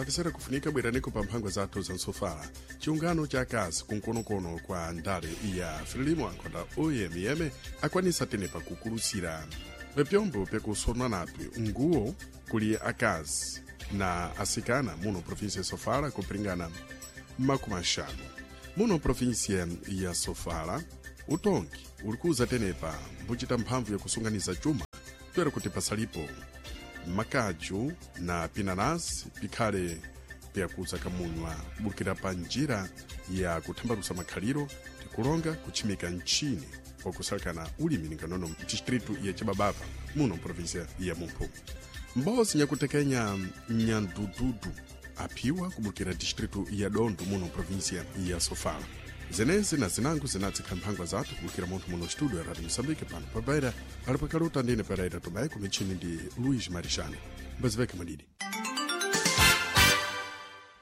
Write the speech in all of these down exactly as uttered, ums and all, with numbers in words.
Apesera kufunika bweraniko pa mphangwa zathu za nsofala. Chiungano cha akazi kunkonokono kwa ndale ya Frelimo, ankhonda O M M, akwanisa tenepa kukulutsira pyombo pyakusonwa napyo nguwo kuli akazi na asikana muno província ya Sofala kupringana makumi axanu. Muno província ya Sofala, utongi ulikuza tenepa mbuchita mphamvu yakusunganiza chuma toera kuti pasalipo makaju na pinanasi pikhale pyakuza kamunywa kubukira pa njira ya kuthambalusa makhaliro, tikulonga kutchimika mchini wakusalekana ulimi ninganono mdistritu ya Chibabava muno província ya Mumphu. Mbozi nyakutekenya nyandududu aphiwa kubukira distritu ya Dondo muno província ya Sofala. Zenezi na zinango zinatsikha mphangwa zathu kubukira munthu muno studio ya Radio Moçambique pano pabaira alipakaluta ndine Pereira Tomé, kumichini ndi Luís Marixane. Mbaziveke madidi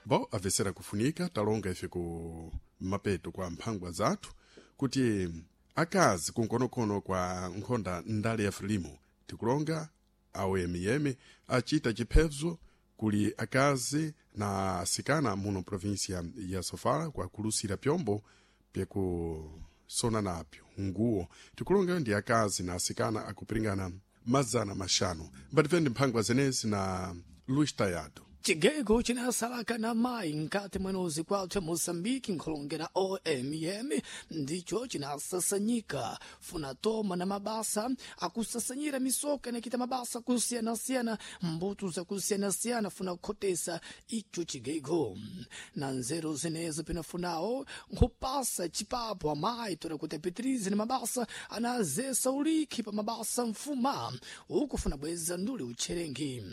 bo avesera kufunika talonga ife ku mapeto kwa mphangwa zathu kuti akazi kunkonokono kwa nkhonda ndale ya Frelimo, tikulonga A O M M, achita chiphezo kuli akazi na asikana muno província ya Sofala kwa kulusira pyombo pyakusona napyo nguwo, tikulonga ndi akazi na asikana akupiringana mazana maxanu. Mbatifendi mphangwa zenezi na Luis Tayado. Chigego chinasalaka na mayi nkati mwenozi kwathu Moçambique, nkholongera O M M, ndicho chinasasanyika funa toma na mabasa akusasanyira misoka inakita mabasa kusiyanasiyana, mbuto zakusiyanasiyana, funa kukhotesa icho chigego na nzeru zinezo pinafunawo nkhupasa chipapo amayi tora kuti apitirize na mabasa anazesa ulikhi pa mabasa mfuma uku funa bweza nduli utcherengi.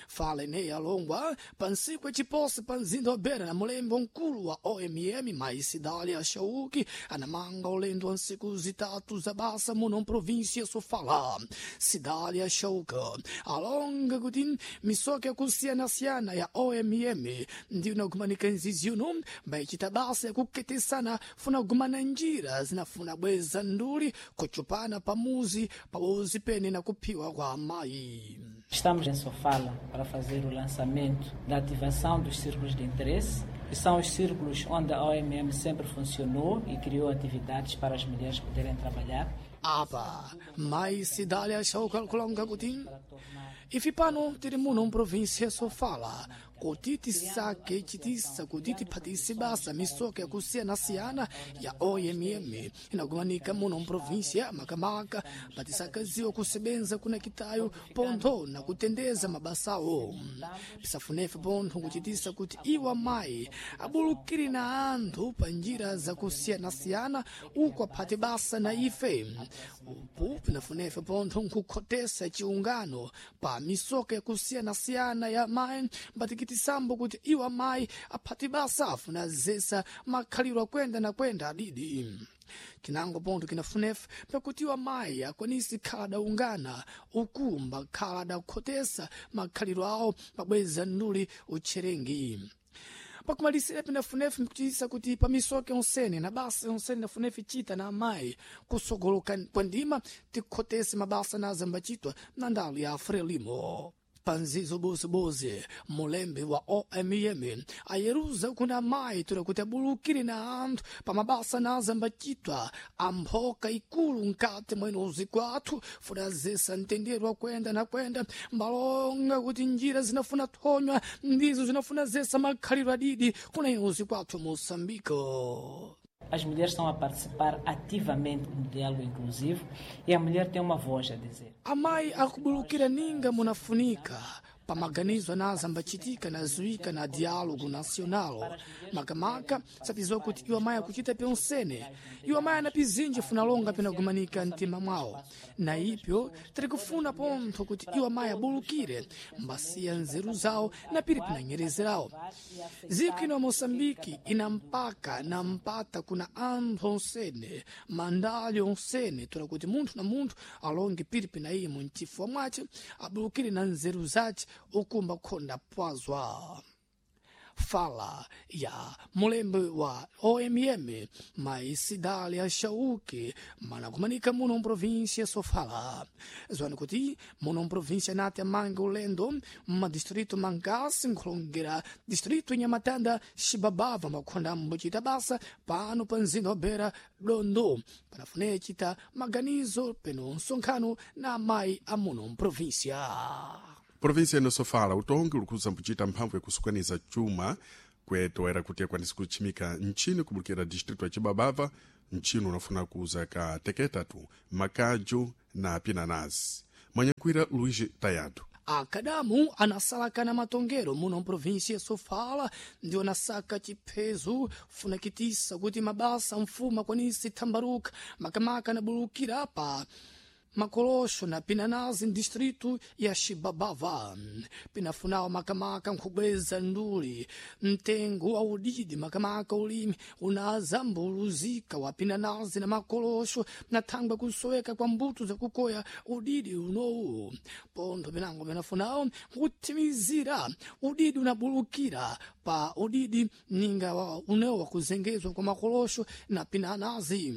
Fala ineyi alongwa pa ntsiku yaciposi pa mzinda wa Beira na mulembe mkulu wa O M M, Mai Sidalia Shauki, anamanga ulendo wa ntsiku zitatu za basa muno mprovíncia Sofala. Sidalia Shauki alonga kuti misoka yakusiyanasiyana ya O M M ndiyo inagumanika nzizi uno mbayichita basa yakuketesana funa kugumana njira zinafuna bweza nduli kuchupana pamuzi pawozi pene na kuphiwa kwa amayi. Estamos em Sofala para fazer o lançamento da ativação dos círculos de interesse, que são os círculos onde a O M M sempre funcionou e criou atividades para as mulheres poderem trabalhar. Apa Mai Sidalia Shauka kulonga kuti ife pano tili muno mprovíncia Sofala kuti tisake chitisa kuti tiphatise basa misoka yakusiyanasiyana ya O M M inagumanika muno mprovíncia, makamaka patisakaziwa kusebenza kuna kitayo pontho na kutendeza mabasawo. Pisafunefe pontho kuchitisa kuti iwa mayi abulukire na anthu pa njira zakusiyanasiyana uku aphate basa na ife. Upu pinafunefe pontho nkukhotesa chiungano pa misoka yakusiyanasiyana ya mayi mbatikitisambo kuti iwa mayi aphate basa afuna zesa makhaliro akwenda na kwenda adidi. Kinango pontho kinafunefe pakuti iwa mayi akwanisi khala daungana uku mbakhala dakukhotesa makhaliro awo pabweza nduli utcherengi. Pakumalisira, pinafunefe mkuchitisa kuti pamisoka yonsene na basa yonsene nafunefe chita na amayi kusogoloka kwa ndima tikhotese mabasa na azambachitwa na ndalo ya Frelimo. Panzizo bozibozi, mulembe wa O M M ayeruza kuna amayi tura kuti abulukire na anthu pa mabasa na azambachitwa amphoka ikulu nkati mwenozi kwathu funa zesa mtendere wa kwenda na kwenda. Mbalonga kuti njira zinafuna thonywa ndizo zinafuna zesa makhaliro adidi kuna inozi kwathu Moçambique. As mulheres estão a participar ativamente no diálogo inclusivo e a mulher tem uma voz a dizer. Amayi akubulukira ninga munafunika pamaganizo anazambachitika na zuika na diálogo nacional, makamaka satiziwa kuti iwo amayi akuchita pyonsene. Iwo amayi anapizinji funa longa pinagumanika mtima mwawo, na ipyo tiri kufuna pontho kuti iwo amayi abulukire mbasiya nzeru zawo na piri pinanyerezerawo. Dziko ino ya Moçambike ina mpaka na mpata kuna anthu onsene, mandali onsene, tola kuti munthu na munthu alonge piri pina iye munchifuwa mwace, abulukire na nzeru zace ukumba khonda pwazwa. Fala ya mulembe wa O M M Maisidália Chauque manakumanika muno mprovíncia Sofala. Zwani kuti muno mprovíncia nati amange ulendo madistrito Mangasi nkhulongera distrito Nhamatanda Xibabava makhonda mbuchita basa pano pa mzinda wa Beira Dondo panafune chita maganizo peno msonkhano na amayi a muno mprovíncia. Província ino Sofala utongi ulikhuza mbuchita mphamvu yakusukaniza chuma kwetoera kuti akwanise kutchimika ntchini kubulukira distrito ya Chibabava ntchini unafuna kuuza ka teketatu makaju na pinanasi. Mwanyakwira Luís Tayado. Akadamu anasalakana matongero muno mprovíncia ya Sofala ndio anasaka chiphezo funakitisa kuti mabasa mfumo akwanise thambaruka makamaka anabulukira pa makolosho na pinanazi distrito ya Xibabava. Pinafunawo makamaka nkhubweza nduli mtengo wa udidi makamaka ulimi unazambuluzika wa pinanazi na makolosho na thangwe kusoweka kwa mbuto zakukoya udidi unowu. Pontho pinango pinafunawo nkuthimizira udidi unabulukira pa udidi ninga wa unewo wakuzengezwa kwa makolosho na pinanazi.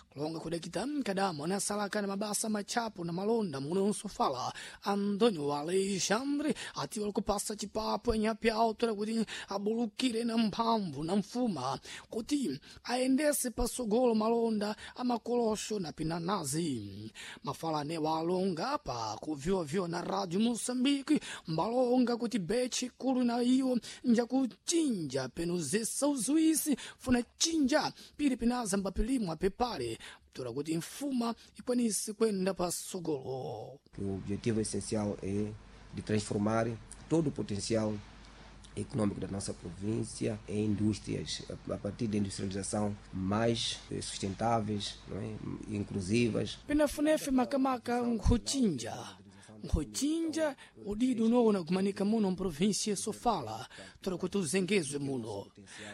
Kulonga kudakita mkadamu anasalaka na mabasa machapo na malonda muno Sofala Antônio Alexandre ati walikupasa chipapo enyapi autora kuti abulukire na mphamvu na mfuma kuti aendese pasogolo malonda amakolosho na pinanazi. Mafala anewa alonga pa kuvyovyo na Radio Moçambique mbalonga kuti bechi kulu na iwo njakuchinja peno zesa uzuisi funa chinja pili pinaza mbapilimwa pepale tora kuti mfuma ikwanise kwenda pasogolo. O objetivo essencial é de transformar todo o potencial econômico da nossa província em indústrias, a partir da industrialização mais sustentáveis, não é? Inclusivas. Pinafunefe makamaka nkhuchinja nkhuchinja udidi unoona kumanika muno mprovíncia Sofala tora kuti uzengezwe muno.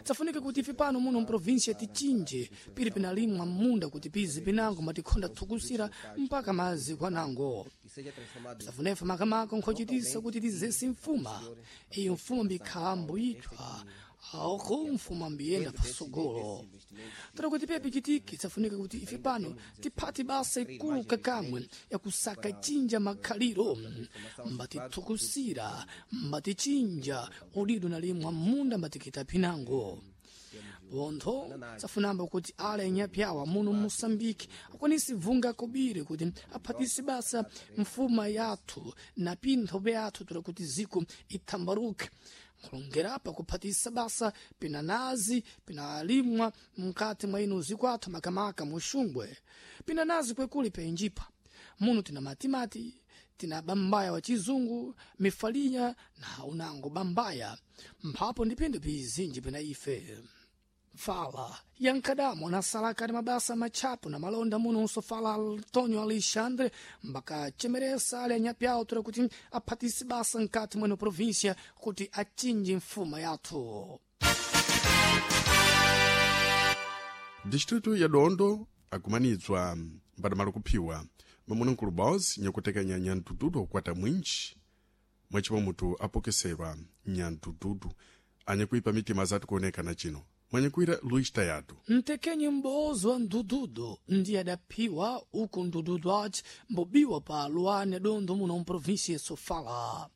Tsafunika kuti ife pano muno mprovíncia tichinje pili pinalimwa munda kuti pizi pinango matikhonda thukusira mpaka maziko anango. Tsafunefe makamaka nkhochitisa kuti tizese mfuma iyo mfuma mbikhala mbuyithwa aoko mfuma mbiyenda pasogolo. Tora kuti pepe chitiki tsafunika kuti ife pano tiphati basa ikulu kakamwe yakusaka chinja makhaliro mbatithukusira mbatichinja udido nalimwa munda mbatikita pinango. Pontho tsafunamba kuti ale anyapyawa muno Moçambique akwanise vunga kobiri kuti aphatise basa mfuma yathu na pintho byathu tora kuti ziko ithambaruke. Kulongerapa kuphatisa basa pinanazi pinalimwa mkati mwa ino zikwathu makamaka muxungwe pinanazi kwekuli penjipa muno tina matimati tina bambaya wa chizungu mifalinya na unango bambaya mphapo ndi pinthu pizinji pina ife. Fala yankadamo anasalaka ni mabasa machapo na malonda muno Sofala Antônio Alexandre mbakachemeresa ali anyapyawo tora kuti aphatise basa nkati mweno província kuti achinje mfuma yathu. Distrito ya Dondo akumanizwa mbadamalo kuphiwa mamunankulu boss nyakutekanya nyandududu okukwata mwinji mwechimwe mutu apokeserwa nyandududu anyakuipa mitima zati kuonekana chino. Mwanyakwira Luís Tayado. Mtekenyi m'bozo wa ndududu ndiye adaphiwa uku ndududu aci mbobiwa pa luane Dondo muno mprovíncia Sofala.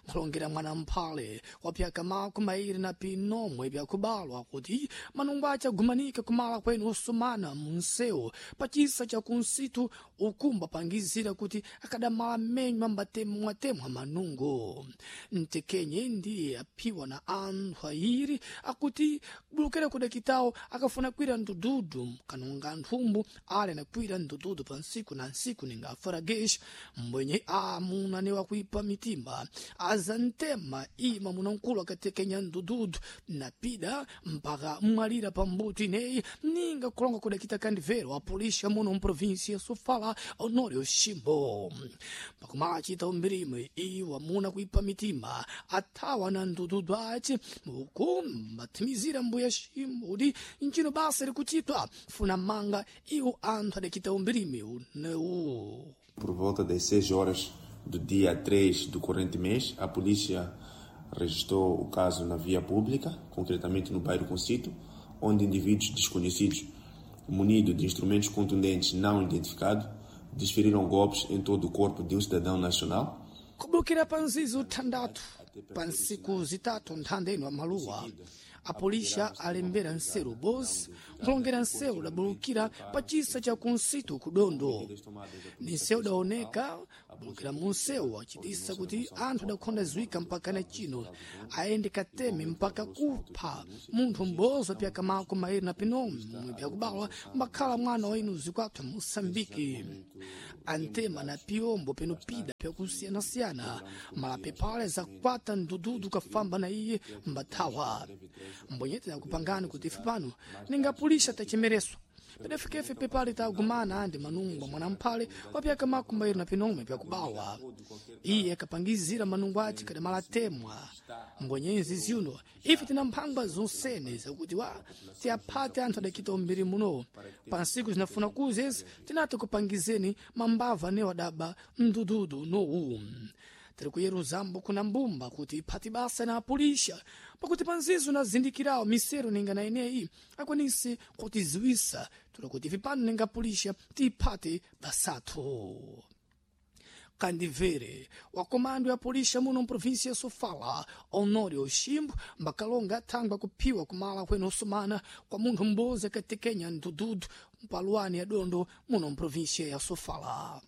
Nkhulongera mwana mphale wapyaka mako mairi na pinomwe byakubalwa kuti manungo ace agumanika kumala kwenu osumana munsewu pachisa cha kunsitu ukumba pangizira kuti akadamala menywa ambatemwatemwa manungo. Mtekenye ndiye aphiwa na anthu ayiri akuti kubulukira kudakitawo akafuna kwira ndududu kanonga nthumbu ale nakwira ndududu pa nsiku na nsiku ninga afaragesh mbwenye amuna ne wakuipa mitima azantema ima munankulu akatekenya ndududu napida mpaka mwalira pambuto ineyi ninga kulonga kudakita kandivero a polícia muno mprovíncia Sofala Honório Ximbo. Pakumachita umbirime iwa muna kuipa mitima athawa na ndududu aci uku mbathimizira mbuya Ximbo kuti ncino basa likuchitwa funa manga iwo anthu adakita umbirime unewu. Por volta das seis horas do dia três do corrente mês, a polícia registrou o caso na via pública, concretamente no bairro Concito, onde indivíduos desconhecidos, munidos de instrumentos contundentes não identificados, desferiram golpes em todo o corpo de um cidadão nacional. Kubukira pa nzizi thandatu pa ntsiku zitatu nthanda ino amaluwa apolisha alembera nseru bosi nkulongera nsewu udabulukira pa chisa cha kunsitu kudondo ni nsewu udaoneka kubulukira mu nsewu achitisa kuti anthu adakhonda ziwika mpaka na chino ayende kateme mpaka kupha munthu m'bozo pyaka mako mairi na pinomwe pyakubalwa mbakhala mwana wa inu zikwathu Moçambique antema na piombo penopida pyakusiyanasiyana malape pale zakwata ndududu kafamba na iye mbathawa mbonyete yakupangani kuti ife pano ningapulisha tachemereso pedafikefe pepale tagumana andi manungwa mwanamphale wapyaka makumbairi na pinomwe pyakubawa iye akapangizira manungwa ace kadamala temwa mbonyenzi ziuno ife tina mphangwa zonsene zakuti wa tiyaphate anthu adakita umbiri muno pa nsiku zinafuna kuzezi tinati kupangizeni mambava ne wadaba mdududu nowu tiri kuyeruzambo kuna mbumba kuti iphati basa na apulisha pakuti panzizo nazindikirawo misero ninga na ineyi akwanise kutiziwisa tuli kuti ife pano ninga apulisha tiyiphate basathu kandivere wa komando ya polícia muno mprovíncia ya Sofala Honório Chimbo mbakalonga athangwa kuphiwa kumala kwene osumana kwa munthu m'bozi akatekenya ndududu mpaluwani ya dondo muno mprovíncia ya Sofala.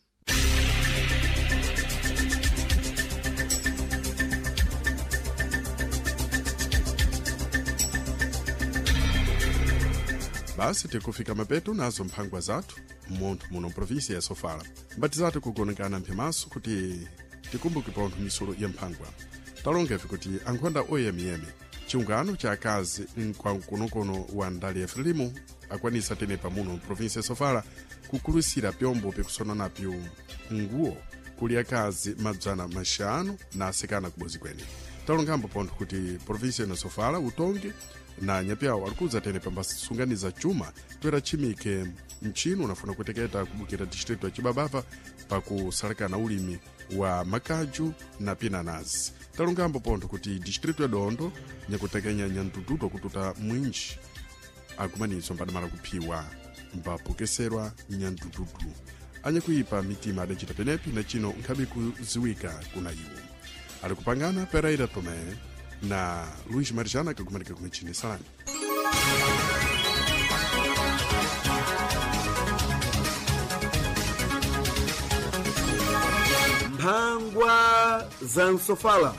Basi tikufika mapeto nazo mphangwa zathu munthu muno mprovinsia ya Sofala mbati zathu kugonekana mphimaso kuti tikumbuke pontho misolo ya mphangwa talongefe kuti ankhonda oyemiyemi chiungano cha akazi mkwaukonokono wa ndale ya Frelimo akwanisa tenepa muno mprovinsia ya Sofala kukulusira pyombo pikusona napyo nguwo kuli akazi madzana maxanu na asikana kubozi kwene talongambo pontho kuti provinsia ino Sofala utongi na nyapyawo alikudza tene pambasunganiza chuma toera chimike mchino unafuna kuteketa kubukira distrito ya Chibabava pakusalekana ulimi wa makaju na pinanazi talongambo pontho kuti distrito ya Dondo nyakutekenya nyandududu akututa mwinji akumanizo mbadamala kuphiwa mbapokeserwa nyandududu anyakuipa mitima adacita penepi na chino nkhabe kuziwika kuna iwo ali kupangana Pereira Tomé na Luís Marjana kakumanika kumechini salani. Mphangwa za Nsofala.